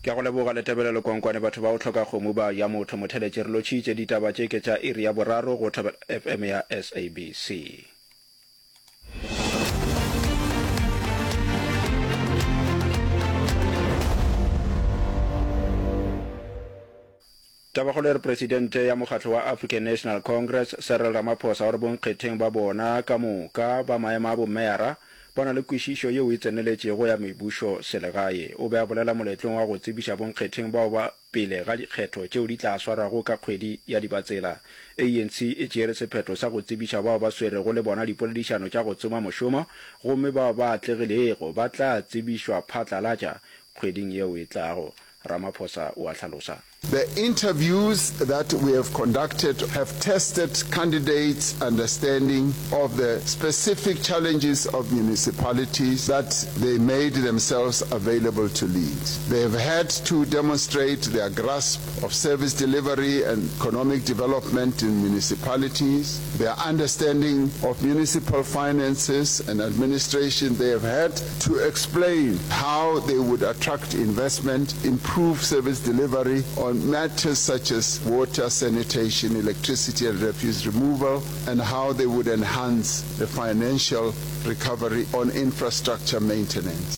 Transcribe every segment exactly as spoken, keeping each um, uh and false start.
Ke a go leboga Letebelelo Kwankwane batho ba go hloka kgomo ba ja motho motheletše re lotšhitše ditaba tše ke tša iri ya boraro go Thobela FM ya SABC. Tabakgolo e re Presidente ya mokgatlo wa African National Congress, Cyril Ramaphosa o re bonkgetheng ba bona ka moka ba maemo a bomeyara ba na le kwešišo yeo e tseneletšego ya mebušo selegae. O be a bolela moletlong wa go tsebiša bonkgetheng bao ba pele ga dikgetho tšeo di tla swarwago ka kgwedi ya Dibatsela. ANC e tšeere sephetho sa go tsebiša bao ba swerego le bona dipoledišano tša go tsoma mošomo gomme bao ba atlegilego ba tla tsebišwa phatlalatša kgweding yeo e tlago, Ramaphosa o a hlalosa. The interviews that we have conducted have tested candidates' understanding of the specific challenges of municipalities that they made themselves available to lead. They have had to demonstrate their grasp of service delivery and economic development in municipalities, their understanding of municipal finances and administration. They have had to explain how they would attract investment, improve service delivery on matters such as water, sanitation, electricity and refuse removal, and how they would enhance the financial recovery on infrastructure maintenance.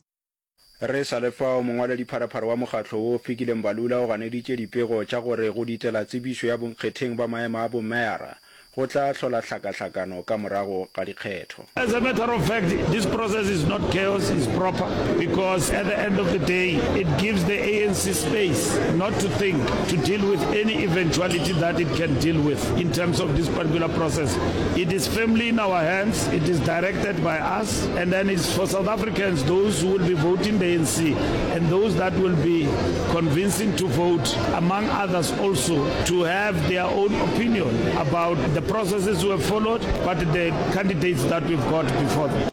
Re sa le fao, mongwaledipharephare wa mokgatlo wo, Fikile Mbalula o ganeditše dipego tša gore go ditela tsebišo ya bonkgetheng ba maemo a bomeyara go tla hlola hlakahlakano ka morago ga dikgetho. As a matter of fact, this process is not chaos, it's proper because at the end of the day, it gives the ANC space not to think, to deal with any eventuality that it can deal with in terms of this particular process. It is firmly in our hands, it is directed by us, and then it's for South Africans, those who will be voting the ANC and those that will be convincing to vote, among others also, to have their own opinion about the processes we have followed, but the candidates that we've got before them.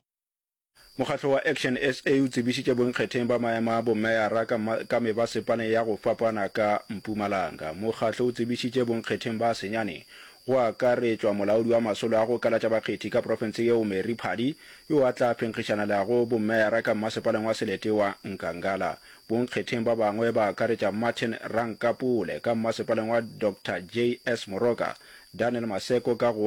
Mokgatlo wa Action SA o tsebišitše bonkgetheng ba maemo a bomeyara ka ka mebasepaleng ya go fapana ka Mpumalanga. Mokgatlo o tsebišitše bonkgetheng ba senyane, go akaretšwa molaodi wa masolo a go kalatša bakgethi ka profense yeo Mary Phadi, yo a tla phenkgišanelago bomeyara ka mmasepaleng wa selete wa Nkangala. Bonkgetheng ba bangwe ba akaretša Martin Rankapole ka mmasepaleng wa Doctor JS Moroka, Daniel Maseko ka go